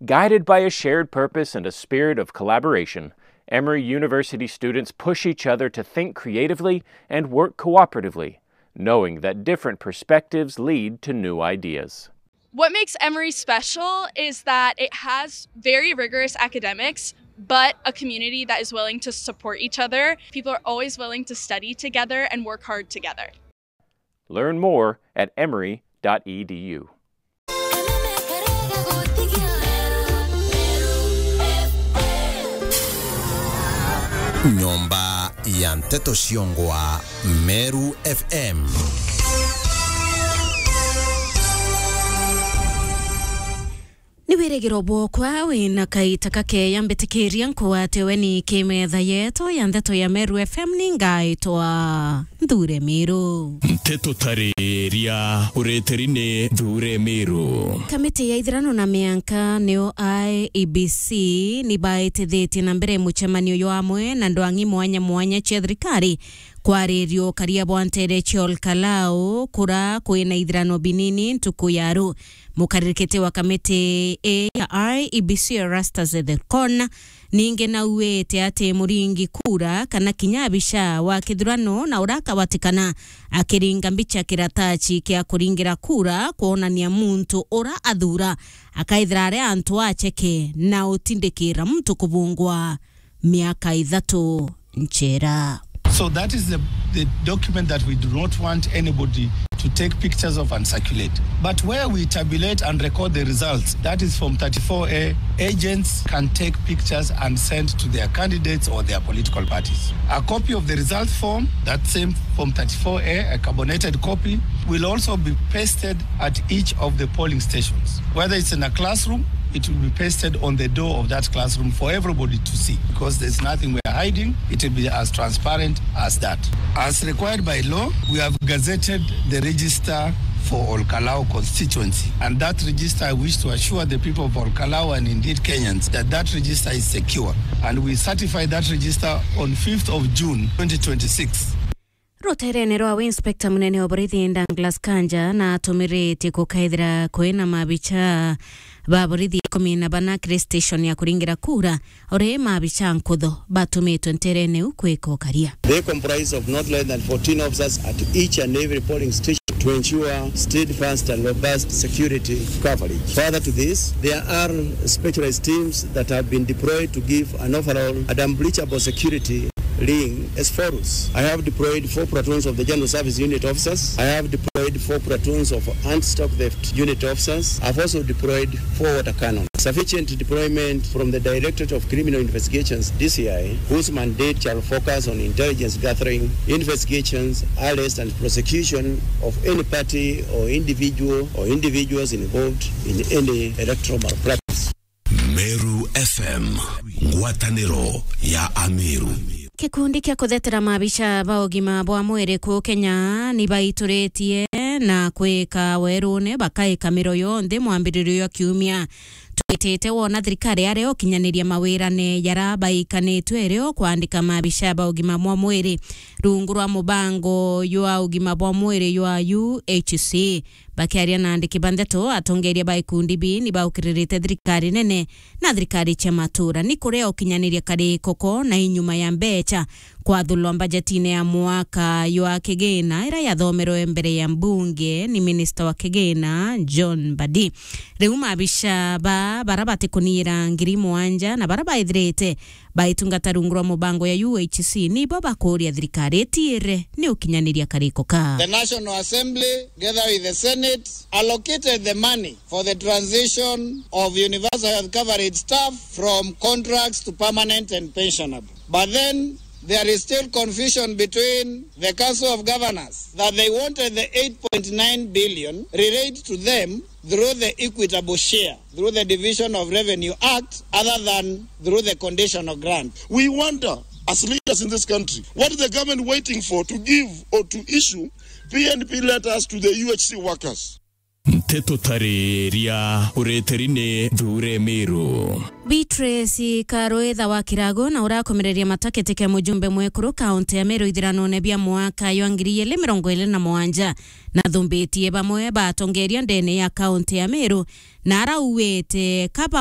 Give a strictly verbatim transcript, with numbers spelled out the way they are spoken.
Guided by a shared purpose and a spirit of collaboration, Emory University students push each other to think creatively and work cooperatively, knowing that different perspectives lead to new ideas. What makes Emory special is that it has very rigorous academics, but a community that is willing to support each other. People are always willing to study together and work hard together. Learn more at emory dot e d u. Nyomba ya nteto ciongwa Meru F M. Ni wirigiro bwokwa wina kaita kakeya mbitikiria nkwate weni kimetha yetu ya ndeto ya Meru F M. Ningaitwa Nthure Miru. Nteto tariria ureteri ni Nthure Miru. Kamiti ya ithirano na mianka niyo I E B C ni baitithitie na mbere mucemanio jwa amwe na ndwang'i mwanya mwanya cia thirikari kwariria ukaria bwa ntere cia Olkalau kura kwina ithirano binini ntuku ya ru. Mukaririkiti wa kamiti ii ya I E B C Erastus Ethekon ningi nauite ati muringi kura kana kinya abica wa kithurano na ura akabatikana akiringa mbica kirataci kia kuringira kura kwonania muntu ura athura akaithira ari antu aceke na utindikira muntu kubungwa miaka ithatu njera. So that is the, the document that we do not want anybody to take pictures of and circulate. But where we tabulate and record the results, that is form thirty-four A, agents can take pictures and send to their candidates or their political parties. A copy of the result form, that same form thirty-four A, a carbonated copy, will also be pasted at each of the polling stations. Whether it's in a classroom, it will be pasted on the door of that classroom for everybody to see, because there's nothing we are hiding. It will be as transparent as that. As required by law, we have gazetted the register for Olkalau constituency, and that register, I wish to assure the people of Olkalau and indeed Kenyans that that register is secure, and we certify that register on fifth of June twenty twenty-six. Ruteerene rwawe, Inspector munene wa borithi Douglas Kanja na atumiritie gukaithira kwina mabicha ba borithi ikumi na bana kiri station ya kuringira kura, uri mabicha nkutho batumitwe nteerene iu kwika ukaria. They comprise of not less than fourteen officers at each and every polling station to ensure steadfast and robust security coverage. Further to this, there are specialized teams that have been deployed to give an overall and unbleachable security ring as follows. I have deployed four platoons of the General Service Unit officers. I have deployed four platoons of anti-stock theft unit officers. I've also deployed four water cannons. Sufficient deployment from the Directorate of Criminal Investigations, D C I, whose mandate shall focus on intelligence gathering, investigations, arrest and prosecution of any party or individual or individuals involved in any electoral malpractice. Meru F M, ngwataniro ya Ameru. Gikundi kia kuthetera mabica ba ugima bwa mwiri kuu Kenya ni baituritie na kwika werune bakaika miro yonthe mwambiririo jwa kiumia twitite, wona thirikari yaria ukinyaniria mawirane jara baikanitwe rio kwandika mabica ba ugima bwa mwiri rungu rwa mubango jwa ugima bwa mwiri jwa U H C. Bakiaria na andiki ba ndeto, atongeria ba ikundi bii ni baukiririte thirikari nene na thirikari cia matura ni kuria ukinyaniria kariko ko na inyuma ya mbecha kwathurwa mbajetine ya mwaka jwa kigina ira yathomerwe mbere ya mbunge ni minista wa kigina John Mbadi. Riu mabica ba bara batikuniira ngiri mugwanja na bara baithirite baitungata rungu rwa mubango ya U H C nibo bakuria thirikari itiire ni ukinyaniria kariko ka. The National Assembly, together with the Senate, allocated the money for the transition of universal health coverage staff from contracts to permanent and pensionable. But then there is still confusion between the Council of Governors that they wanted the eight point nine billion relate to them through the equitable share, through the Division of Revenue Act, other than through the conditional grant. We wonder, as leaders in this country, what is the government waiting for to give or to issue P N P letters to the U H C workers? Nteto tariria ureteri ni Nthure Miru. Beatrice Karwitha wa Kirago na urakomereria matakete kia mujumbe mwekuru kaunti ya Meru ithiranone bia mwaka jwa ngiri igiri mirongo iri na mugwanja nathumbitie bamwe ba atongeria ndene ya kaunti ya Meru na arauite kaba